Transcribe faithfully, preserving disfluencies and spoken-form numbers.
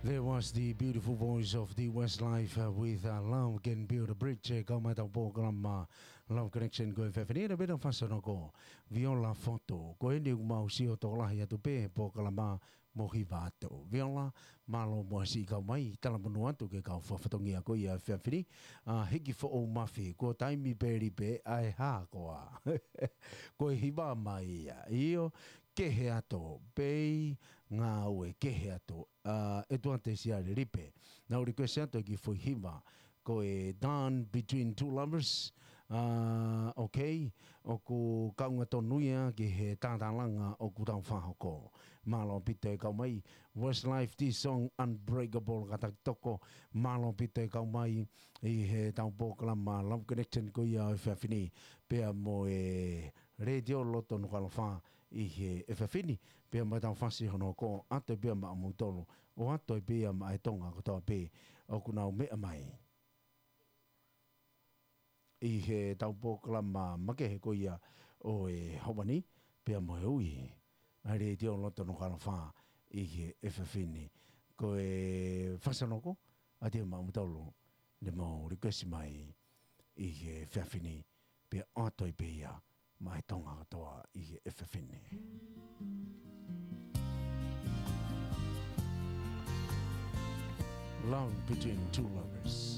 There was the beautiful voice of the Westlife, uh, with, uh, Love Can Build a Bridge, eh, kau mai tau polokalama Love Connection ko e efiafi ni, na bena fasanoko Viola Fotu. Ko eni ʻoku mau sio tokolahi atu pē polokalama mo hiva atu. Viola, mālō muʻa siʻi kau mai, talamonū atu ki he kau fakafatongia ko ia efiafi ni, ʻa, hiki foʻou mafi, ko e taimi pē lipe, ʻa e hā koā. Ko e hiva mai ia, ʻio, kehe atu, pei, ngāue kehe atu, ʻa, ʻEtuate Siale Lipe. Naʻá ku request atu ki he foʻi hiva, ko e Dawn Between Two Lovers, ʻa, ok, ʻoku kaunga tonu ia ki he tātālanga ʻoku tau fakahoko. Mālō ʻaupito e kau mai, Westlife, the song Unbreakable, kātaki toko, mālō ʻaupito e kau mai ʻi he tau polokalama Love Connection ko ia ʻo e efiafi ni, pea mo e Letiō Loto Nukuʻalofa ʻi he efiafi ni, pea mo e tau fasi hono hoko, ʻoatu pē ia maʻamoutolu, ʻoatu pē ia maʻa e Tonga kotoa pē ʻoku nau meʻa mai ʻi he tau polokalama makehe ko ia ʻo e ʻaho ni, pea mo e ui ʻa e Letiō Loto Nukuʻalofa ʻi he efiafi ni. Ko e fasanoko, ʻoatu ia maʻamoutolu, ne mau request mai ʻi he efiafi ni, pea ʻoatu ai pē ia maʻa e Tonga kotoa ʻi he efiafi ni. Love Between Two Lovers.